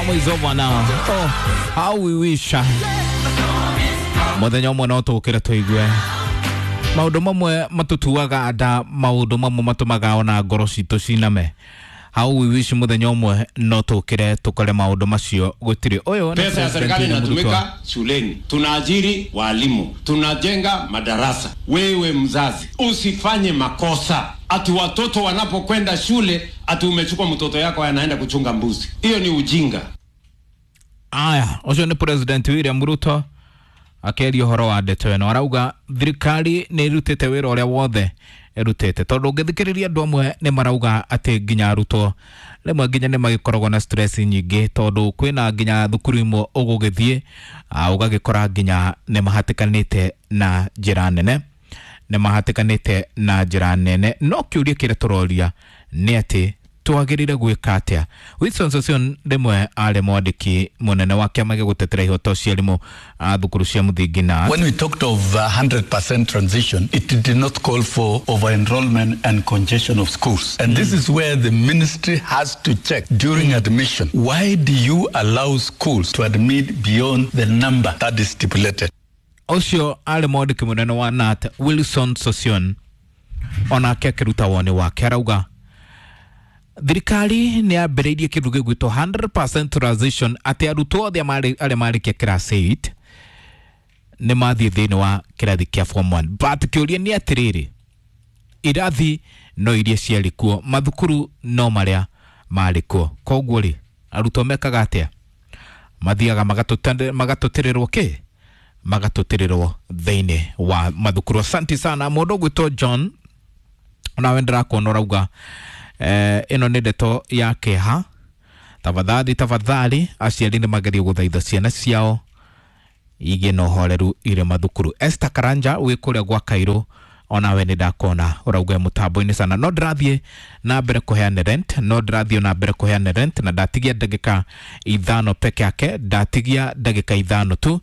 storm is over now. Oh, how we wish muthenya ũmwe no tũkĩre tũigue maũndũ mamwe matutuaga nda, maũndũ mamwe matũmaga ona ngoro citũ ciname. How we wish muthenya ũmwe no tũkĩre tũkore maũndũ macio gũtirĩ. Ũyũ nĩ Pesa ya President serikali William Ruto. inatumika shuleni, tunaajiri walimu, tunajenga madarasa. Wewe mzazi, usifanye makosa ati watoto wanapokwenda shule ati umechukua mtoto yako anaenda kuchunga mbuzi. Hiyo ni ujinga. Aya, ũcio nĩ President William Ruto akĩaria ũhoro wa ndeto ĩno, arauga thirikari nĩ ĩrutĩte wĩra ũrĩa wothe ĩrutĩte, tondũ ũngĩthikĩrĩria andũ amwe nĩ marauga atĩ nginya arutwo rĩmwe nginya nĩ magĩkoragwo na stress nyingĩ, tondũ kwĩna nginya thukuru imwe ũgũgĩthiĩ ũgagĩkora nginya nĩ mahatĩkanĩte na njĩra nene, nĩ mahatĩkanĩte na njĩra nene. No kĩũria kĩrĩa tũroria nĩ atĩ twagĩrĩire gwĩka atĩa. Wilson Sossion rĩmwe arĩ mwandĩki mũnene wa kĩama gĩa gũtetera ihoto cia arimũ a thukuru cia mũthingi na When we talked of 100% transition, it did not call for over-enrollment and congestion of schools. And this is where the ministry has to check during admission. Why do you allow schools to admit beyond the number that is stipulated? Ũcio arĩ mwandĩki mũnene wa KNUT Wilson Sossion, onake akĩruta woni wake, arauga thirikari nĩ yambĩrĩirie kĩndũ gĩgwĩtwo 100% transition, atĩ arutwo othe arĩa marĩkia class 8 nĩ mathiĩ thĩinĩ wa kĩrathi kĩa form 1, but kĩũria nĩ atĩrĩrĩ, irathi no iria ciarĩ kuo, mathukuru no marĩa marĩ kuo, koguo rĩ arutwo mekaga atĩa? Mathiaga magatũtĩrĩrwo kĩ magatũtĩrĩrwo thĩinĩ wa mathukuru. Asante sana mũndũ ũgwĩtwo John, onawe ndĩrakuona ũrauga ĩno nĩ ndeto ya kĩeha. Tafadhali tafadhali aciari nĩ magerie gũthaitha ciana ciao igĩe na ũhoreru irĩ mathukuru. Esther Karanja wĩ kũrĩa gwa Kairũ, onawe nĩ ndakona ũrauga mũtambo-inĩ sana. No ndĩrathiĩ na mbere kũheana rent, no ndĩrathiĩ na mbere kũheana rent, na ndatigia ndagĩka 5 peke yake, ndatigia ndagĩka 5 tu,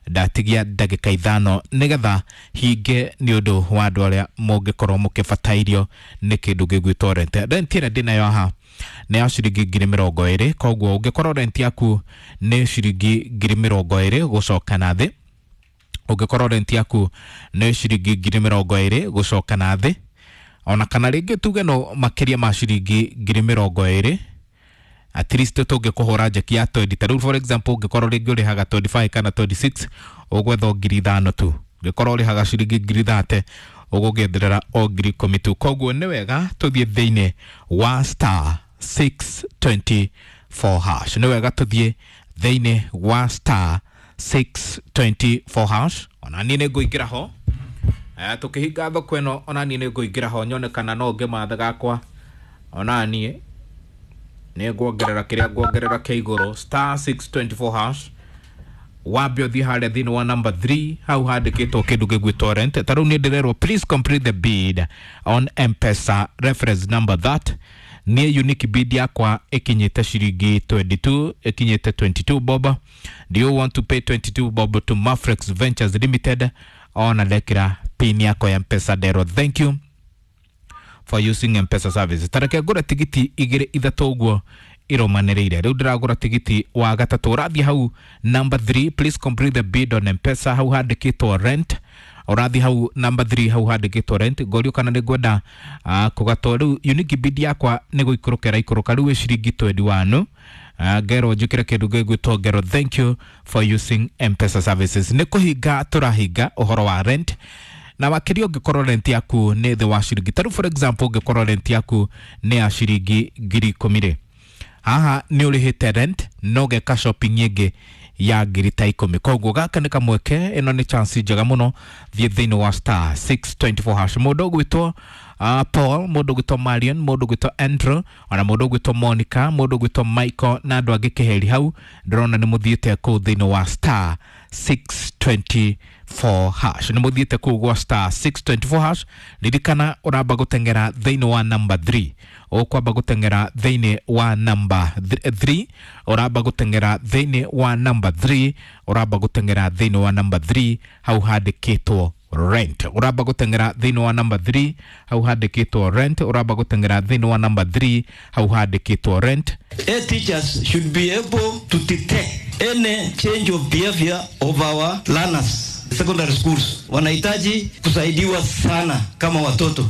ndatigia ndagĩka 5 nĩgetha hinge nĩ ũndũ wa andũ arĩa mũngĩkorwo mũkĩbatairio nĩ kĩndũ gĩgwĩtwo rent. Rent ĩrĩa ndĩnayo haha nĩ ya ciringi 20,000, koguo ũngĩkorwo rent yaku nĩ ciringi 20,000 gũcoka na thĩ, ũngĩkorwo rent yaku nĩ ciringi 20,000 gũcoka na thĩ, ona kana rĩngĩ tuge no makĩria ma ciringi 20,000, at least tũngĩkũhũra njeki ya 20. Ta rĩu for example ũngĩkorwo rĩngĩ ũrĩhaga 25 kana 26, ũgwetha o 5,000 tu. Ũngĩkorwo ũrĩhaga ciringi 30,000, ũgũgĩetherera o 10,000 tu. Koguo nĩ wega tũthiĩ thĩinĩ wa star 624 hash, nĩ wega tũthiĩ thĩinĩ wa star 624 hash. Ona niĩ nĩ ngũingĩra ho tũkĩhinga thoko ĩno, ona niĩ nĩ ngũingĩra ho nyone kana no ngĩmatha gakwa, ona niĩ nĩ nguongerera kĩrĩa nguongerera kĩa igũrũ. Star 624 hash, wambe ũthiĩ harĩa thĩinĩ wa number 3 hau handĩkĩtwo kĩndũ gĩgwĩtwo rent. Ta rĩu niĩ ndĩrerwo please complete the bid on M-Pesa reference number that. Niĩ unique bid yakwa ĩkinyĩte ciringi 22, ĩkinyĩte 22 bob. Do you want to pay 22 bob to Mafrex Ventures Limited? Ona ndekĩra pin yakwa ya M-Pesa, nderwo thank you for using M-Pesa services. Tareke ngũre tigiti 2 3 ũguo iromanĩrĩire. Rĩu ndĩragũra tigiti wa gatatũ, ũrathiĩ hau number 3, please complete the bid on M-Pesa, hau handĩkĩtwo rent. Ũrathiĩ hau number 3 hau handĩkĩtwo rent, ngorio kana nĩ ngwenda kũgatwo. Rĩu unique bid yakwa nĩ gũikũrũka ĩraikũrũka, rĩu ĩ ciringi 21. Ngerwo njĩkĩre kĩndũ gĩgwĩtwo ngero thank you for using M-Pesa services. Nĩ kũhinga tũrahinga ũhoro wa rent, na makĩria ũngĩkorwo rent yaku nĩ thĩ wa ciringi, ta rĩu for example ũngĩkorwo rent yaku nĩ ya ciringi 10,000 rĩ, haha nĩ ũrĩhĩte rent no ũgeka shopping ĩngĩ ya 10,000. Koguo gaka nĩ kamweke, ĩno nĩ chance njega mũno. Thiĩ thĩinĩ wa star 624 hash. Mũndũ ũgwĩtwo Paul, mũndũ ũgwĩtwo Marion, mũndũ ũgwĩtwo Andrew, ona mũndũ ũgwĩtwo Monica, mũndũ ũgwĩtwo Michael na andũ angĩ keheri hau, ndĩrona nĩ mũthiĩte kũu thĩinĩ wa star 624 hash, nĩ mũthiĩte kũu gwa star 624 hash. Ririkana ũramba gũteng'era thĩinĩ wa number 3, ũkwamba gũteng'era thĩinĩ wa number 3, ũramba gũteng'era thĩinĩ wa number 3, ũramba gũteng'era thĩinĩ wa number 3 hau handĩkĩtwo Rent uramba guteng'era thĩinĩ wa number 3 hau handĩkĩtwo rent, uramba guteng'era thĩinĩ wa number 3 hau handĩkĩtwo rent. A teachers should be able to detect any change of behavior of our learners secondary schools. Wanahitaji kusaidiwa sana kama watoto.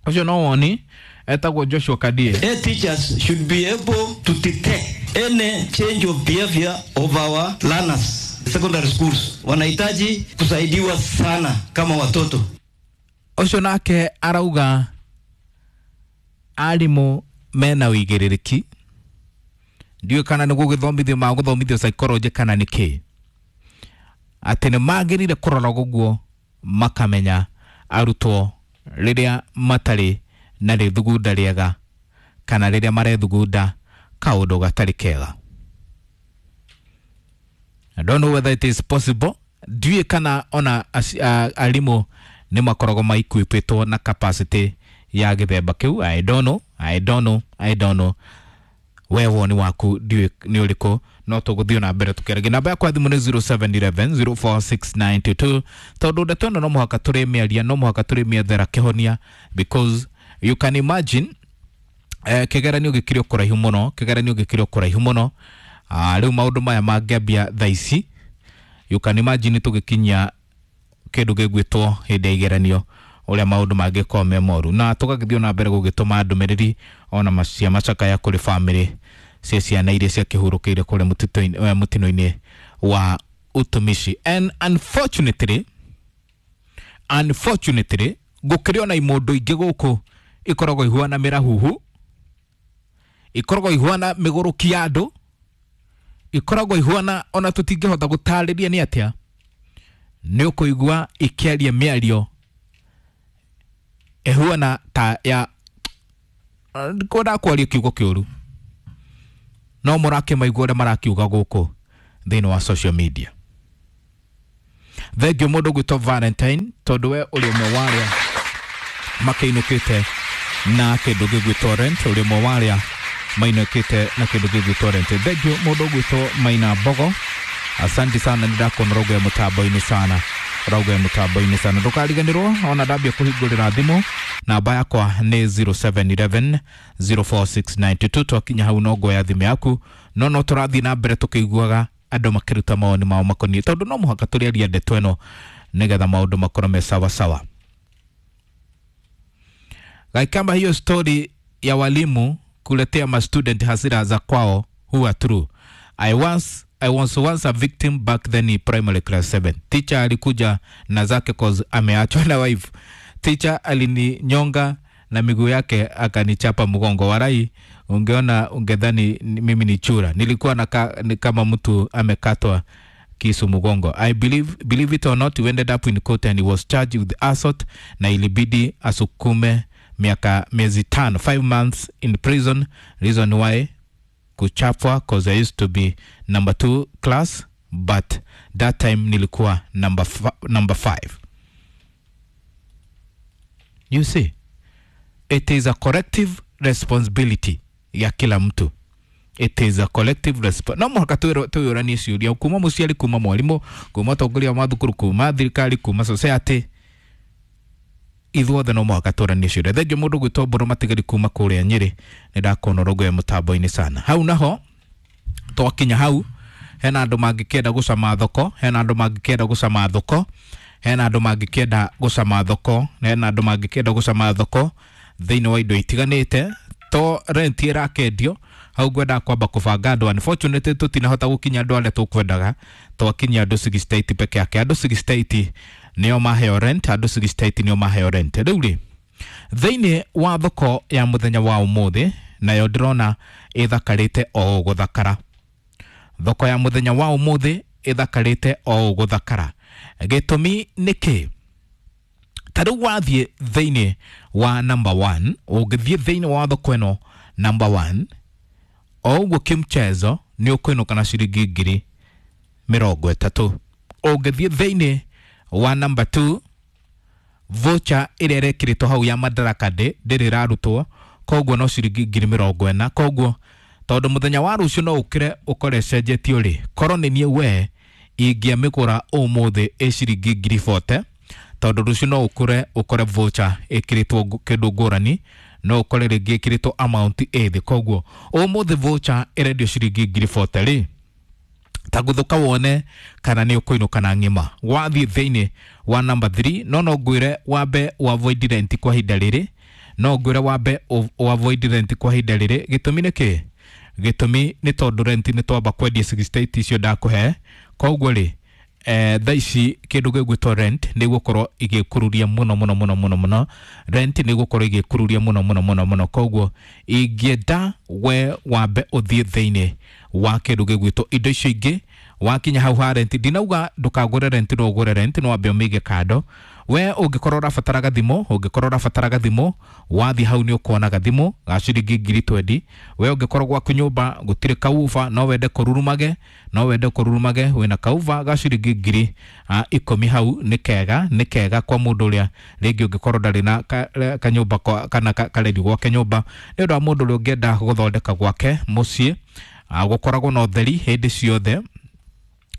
Ũcio no woni etagwo Joshua Kadie. A teachers should be able to detect any change of behavior of our learners secondary schools. Wanahitaji kusaidiwa sana kama watoto. Ũcio nake arauga arimũ mena ũigĩrĩrĩki, ndiũĩ kana nĩ gũgĩthomithio magũthomithio psychology kana nĩ kĩ, atĩ nĩ magĩrĩire kũrora ũguo makamenya arutwo rĩrĩa matarĩ na rĩthugunda rĩega kana rĩrĩa marethugunda kaũndũ gatarĩ kega. I don't know whether it is possible, ndiũĩ kana ona arimũ nĩ makoragwo maikuĩpĩtwo na capacity ya gĩthemba kĩu. I don't know, I don't know, I don't know. We woni waku ndiũĩ nĩ ũrĩkũ, no tũgũthiĩ na mbere tũkĩaragia. Namba yakwa ya thimũ nĩ 0711 046922, tondũ ndeto ĩno no mũhaka tũrĩmĩaria, no mũhaka tũrĩmĩethera kĩhonia, because you can imagine kĩgeranio gĩkĩrĩ o kũraihu mũno, kĩgeranio gĩkĩrĩ o kũraihu mũno. Rĩu maũndũ maya mangĩambia thaa ici, you can imagine tũgĩkinyia kĩndũ gĩgwĩtwo hĩndĩ ya igeranio ũrĩa maũndũ mangĩkorwo me moru, na tũgagĩthiĩ na mbere gũgĩtũma ndũmĩrĩri ona cia macakaya kũrĩ bamĩrĩ cia ciana iria ciakĩhurũkĩire kũrĩa mũtino-inĩ wa utumishi. And unfortunately, gũkĩrĩ ona imũndũ ingĩ gũkũ ikoragwo ihuana mĩrahuhu, ikoragwo ihuana mĩgũrũki ya andũ, ikoragwo ihuana ona tũtingĩhota gũtarĩria nĩ atĩa, nĩ ũkũigua ikĩaria mĩario ĩhuana ta ya kwenda kwaria kiugo kĩũru, no mũrakĩmaigua ũrĩa marakiuga gũkũ thĩinĩ wa social media. Thengiũ mũndũ ũgwĩtwo Valentine, tondũ we ũrĩ ũmwe wa arĩa makĩinũkĩte na kĩndũ gĩgwĩtwo rent, ũrĩ ũmwe wa arĩa mainũkĩte na kĩndũ gĩgwĩtwo rent. Thengiũ mũndũ ũgwĩtwo Maina Mbogo, asante sana, nĩ ndakuona ũrauga mũtambo-inĩ sana, ũrauga mũtambo-inĩ sana. Ndũkariganĩrwo ona ndambia kũhingũrĩra thimũ, namba yakwa nĩ 0711 046922. Twakinya hau no ngoya thimũ yaku, no no tũrathiĩ na mbere tũkĩiguaga andũ makĩruta mawoni mao makoniĩ, tondũ no mũhaka tũrĩaria ndeto ĩno nĩgetha maũndũ makorwo me sawa sawa. Gaikamba, hiyo story ya walimu kuletea ma student hasira za kwao huwa true. I was once a victim back then in primary class 7. Teacher alikuja na zake cause ameachwa na wife. Teacher alininyonga na miguu yake akanichapa mgongo. Warai, ungeona ungedhani mimi ni chura. Nilikuwa ni kama mtu amekatwa kisu mgongo. I believe it or not, we ended up in court and he was charged with assault na ilibidi asukume miaka miezi 5, 5 months in prison. Reason why kuchapwa cause I used to be number 2 class, but that time nilikuwa number 5. You see, it is a collective responsibility ya kila mtu. It is a collective response. No mũhaka twĩyũranie ciũria kuma mũciari, kuma mwarimũ, kuma atongoria a mathukuru, kuma thirikari, kuma society, ithuothe no mũhaka tũranie ciũria. Thengiũ mũndũ gwĩtwo Mbũrũ Matigari kuma kũrĩa Nyĩrĩ, nĩ ndakuona ũrauga mũtambo-inĩ sana. Hau naho twakinya hau, hena andũ mangĩkĩenda gũcama thoko, hena andũ mangĩkĩenda gũcama thoko, hena andũ mangĩkĩenda gũcama thoko, hena andũ mangĩkĩenda gũcama thoko thĩinĩ wa indo itiganĩte. To rent ĩrakendio hau, ngwendaga kwamba kũbanga andũ. Unfortunately tũtinahota gũkinya andũ arĩa tũkwendaga, twakinyia andũ 68 peke yake. Andũ 68 nĩo maheo rent, andũ 68 nĩo maheo rent. Rĩu rĩ, thĩinĩ wa thoko ya mũthenya wa ũmũthĩ, nayo ndĩrona ĩthakarĩte o gũthakara. Thoko ya mũthenya wa ũmũthĩ ĩthakarĩte o gũthakara. Gĩtũmi nĩ kĩ? Ta rĩu wathiĩ thĩinĩ wa number 1, ũngĩthiĩ thĩinĩ wa thoko ĩno number 1, o ũguo kĩmchezo nĩ ũkũinũka na ciringi 30,000. Ũngĩthiĩ thĩinĩ wa number 2, voucher ĩrĩa ĩrekĩrĩtwo hau ya Madaraka Day ndĩrĩ ĩrarutwo, koguo no ciringi 40,000. Koguo tondũ mũthenya wa rũciũ no ũkĩre ũkore ĩcenjetio rĩ, korwo nĩ niĩ we Ingĩamĩgũra ũmũthĩ ĩ ciringi 40,000 tondũ rũciũ no ũkore ũkore voucher ĩkĩrĩtwo kĩndũ ngũrani, no ũkore rĩngĩ ĩkĩrĩtwo amount ĩ thĩ. Koguo ũmũthĩ voucher ĩrendio ciringi 40,000 rĩ, ta gũthũka wone kana nĩ ũkũinũka na ng'ima. Wathiĩ thĩinĩ wa number 3, no no ngwĩre wambe avoid rent kwa ihinda rĩrĩ, no ngwĩre wambe avoid rent kwa ihinda rĩrĩ. Gĩtũmi nĩ kĩ? Gĩtũmi nĩ tondũ rent nĩ twamba kwendia 68 icio ndakũhe. Koguo rĩ, thaa ici kĩndũ gĩgwĩtwo rent nĩ gũkorwo igĩkururia mũno mũno mũno mũno mũno. Rent nĩ gũkorwo igĩkururia mũno mũno mũno mũno. Koguo ingĩenda we wambe ũthiĩ thĩinĩ wa kĩndũ gĩgwĩtwo indo icio ingĩ. Wakinya hau ha rent, ndinauga ndũkagũre rent, no ũgũre rent, no wambe ũmĩige kando. We ũngĩkorwo ũrabatara gathimũ, ũngĩkorwo ũrabatara gathimũ, wathiĩ hau nĩ ũkuona gathimũ ga ciringi 20,000. We ũngĩkorwo gwaku nyũmba gũtirĩ kauba, no wende kũrurumage, no wende kũrurumage, wĩna kauba ga ciringi 10,000 hau, nĩ kega, nĩ kega kwa mũndũ ũrĩa rĩngĩ ũngĩkorwo ndarĩ na kanyũmba kana karedio gwake nyũmba, nĩ ũndũ wa mũndũ ũrĩa ũngĩenda gũthondeka gwake mũciĩ, gũkoragwo na ũtheri hĩndĩ ciothe,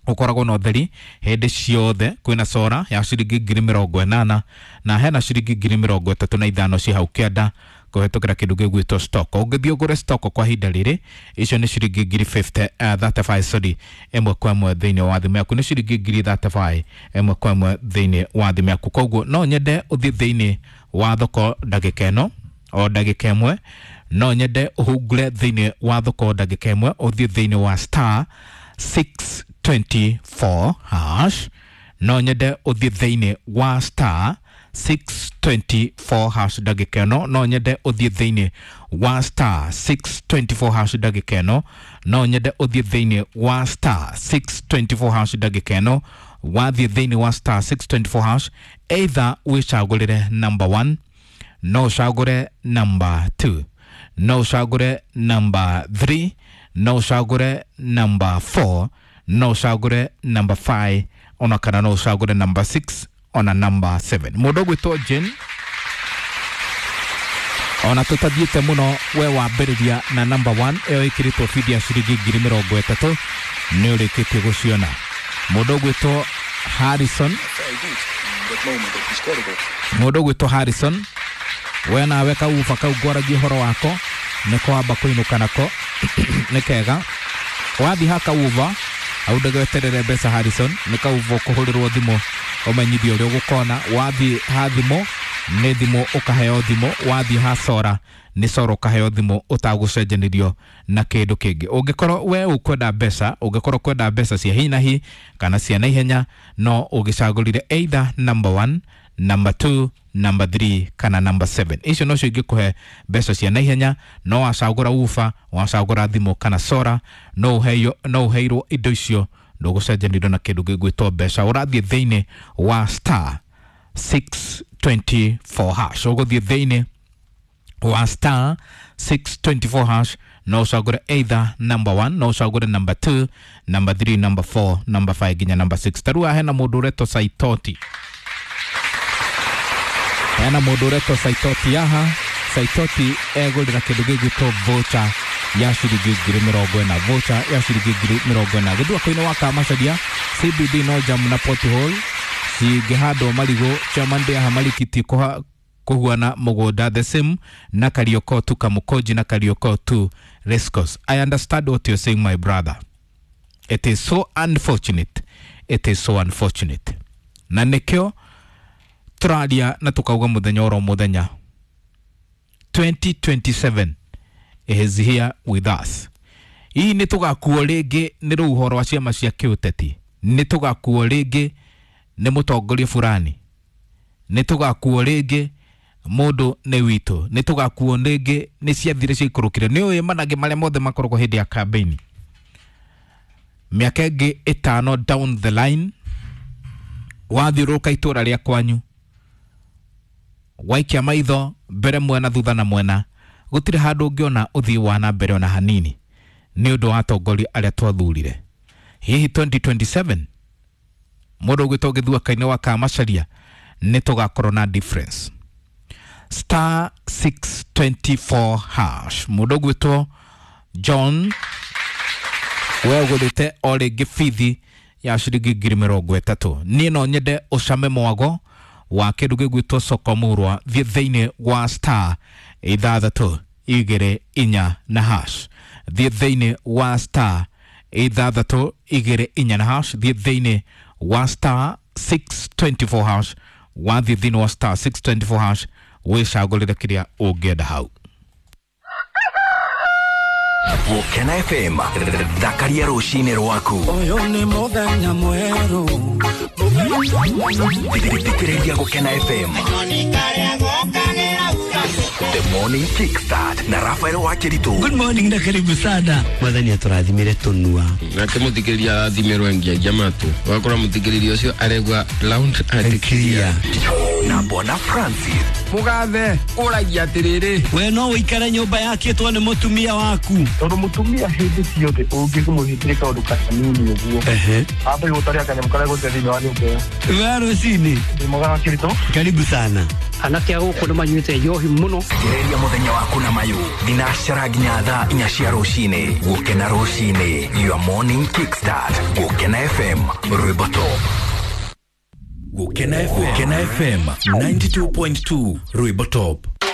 ũkoragwo na ũtheri hĩndĩ ciothe. Kwĩna cora ya ciringi 80,000 na hena ciringi 35,000 ci hau kĩanda kũhetũkĩra kĩndũ gĩgwĩtwo stock. Ũngĩthiĩ ũgũre stock kwa ihinda rĩrĩ, icio nĩ ciringi 50,000, 35, sorry, ĩmwe kwa ĩmwe thĩinĩ wa thimũ yaku, nĩ ciringi 35,000 ĩmwe kwa ĩmwe thĩinĩ wa thimũ yaku. Koguo no nyende ũthiĩ thĩinĩ wa thoko ndagĩka ĩno, o ndagĩka ĩmwe, no nyende ũhungure thĩinĩ wa thoko ndagĩka ĩmwe, ũthiĩ thĩinĩ wa star 624 hash. No nyende ũthiĩ thĩinĩ wa star 624 hash ndagĩka ĩno, no nyende ũthiĩ thĩinĩ wa star 624 hash ndagĩka ĩno, no nyende ũthiĩ thĩinĩ wa star 624 hash ndagĩka ĩno. Wathiĩ thĩinĩ wa star 624 hash, either wĩcagũrĩre number 1, no ũcagũre number 2, no ũcagũre number 3, no ũcagũre number 4, no ũcagũre number 5, ona kana no ũcagũre number 6 ona number 7. Mũndũ ũgwĩtwo Jane, ona tũtathiĩte mũno, we wambĩrĩria na number 1 ĩyo ĩkĩrĩtwo bidi ya ciringi 30,000, nĩ ũrĩkĩtie gũciona. Mũndũ ũgwĩtwo Harrison, mũndũ ũgwĩtwo Harrison, we nawe kauba kau ngwaragia ũhoro wako nĩ kwamba kũinũka nako nĩ kega. Wathiĩ ha kauba hau ndũgeterere mbeca Harrison, nĩ kauba ũkũhũrĩrwo thimũ ũmenyithio ũrĩa ũgũkona. Wathiĩ ha thimũ nĩ thimũ ũkaheo thimũ, wathiĩ ha sora nĩ sora ũkaheo thimũ ũtagũcenjanĩrio na kĩndũ kĩngĩ. Ũngĩkorwo we ũkwenda mbeca, ũngĩkorwo ũkwenda mbeca cia hi na hi kana cia naihenya, no ũgĩcagũrire either number 1, number 2, number 3 kana number 7. Icio nocio ingĩkũhe mbeca cia naihenya. No wacagũra uba, wacagũra thimũ kana sora, no ũheirwo indo icio, ndũgũcenjanĩrio na kĩndũ gĩgwĩtwo mbeca. Ũrathiĩ thĩinĩ wa star 624 hash, ũgũthiĩ thĩinĩ wa star 624 hash, no ũcagũre either number 1, no ũcagũre number 2, number 3, number 4, number 5 nginya number 6. Ta rĩu haha hena mũndũ ũretwo Saitoti, hena mũndũ ũretwo Saitoti haha. Saitoti egũrĩra kĩndũ gĩgwĩtwo voucher ya ciringi 40,000, voucher ya ciringi 40,000. Gĩthũa-inĩ wa Kamacharia CBD no jam na pothole cingĩhandwo marigũ, chairman ndĩaha marikiti kũhuana mũgũnda the same na Karioko tu Kamukonji na Karioko tu Rescos. I understand what you're saying, my brother. It is so unfortunate, it is so unfortunate. Na nĩkĩo tũraria na tũkauga mũthenya oro mũthenya, 2027 is here with us. Hihi nĩ tũgakuo rĩngĩ nĩ rũhuho rwa ciama cia kĩũteti? Nĩ tũgakuo rĩngĩ nĩ mũtongoria fulani? Nĩ tũgakuo rĩngĩ mũndũ nĩ witũ? Nĩ tũgakuo rĩngĩ nĩ ciathire ciaikũrũkire? Nĩ ũĩ managĩ marĩa mothe makoragwo hĩndĩ ya campaign. Mĩaka ĩngĩ 5 down the line, wathiũrũrũka itũra rĩa kwanyu, waikia maitho mbere mwena thutha na mwena, gũtirĩ handũ ũngĩona ũthii wa na mbere ona hanini nĩ ũndũ wa atongoria arĩa twathurire. Hihi 2027 mũndũ ũgwĩtwo Gĩthũa-inĩ wa Kamacharia nĩ tũgakorwo na difference. Star 624 hash, mũndũ ũgwĩtwo John, we ũgũrĩte o rĩngĩ bithi Ya ciringi 30,000. Niĩ no nyende ũcame mwago wa kĩndũ gĩgwĩtwo soko murwa. Thiĩ thĩinĩ wa star 6 2 4 na hash. Thiĩ thĩinĩ wa star 6 2 4 na hash. Thiĩ thĩinĩ wa star 624 hash. Wathiĩ thĩinĩ wa star 624 hash, wĩcagũrĩre kĩrĩa ũngĩenda hau. Gũkena FM, thakaria rũcinĩ rwaku. Ũyũ nĩ mũthenya mwerũ. Thikĩrĩria Gũkena FM. The Morning Kickstart na Rafael Wakiritu. Good morning na karibu sana. Mwathani atũrathimire tũnua. Nake mũthikĩrĩria arathimĩrwo ngiagia matũ, ũgakora mũthikĩrĩria ũcio aregua loud and clear. Na Bwana Francis. Mũgathe ũragia atĩrĩrĩ. We no ũikare nyũmba yakĩtwo nĩ mũtumia waku? Tondũ mũtumia hĩndĩ ciothe ũngĩmũhingĩre kaũndũ kanini ũguo, ambe gũtaria kanyamũ karĩa gũte thĩinĩ wa nyũmba ĩyo. We rũcinĩ. Ndĩ mwega wa Kĩritũ. Karibu sana. Anake a gũkũ nĩ manyuĩte njohi mũno. Thikĩrĩria mũthenya waku na mayũ thinacara nginya thaa 4 cia rũcinĩ. Gũkena rũcinĩ, your morning kickstart. Gũkena FM, rwĩmbo top. Gũkena FM, Gũkena FM 92.2, rwĩmbo top.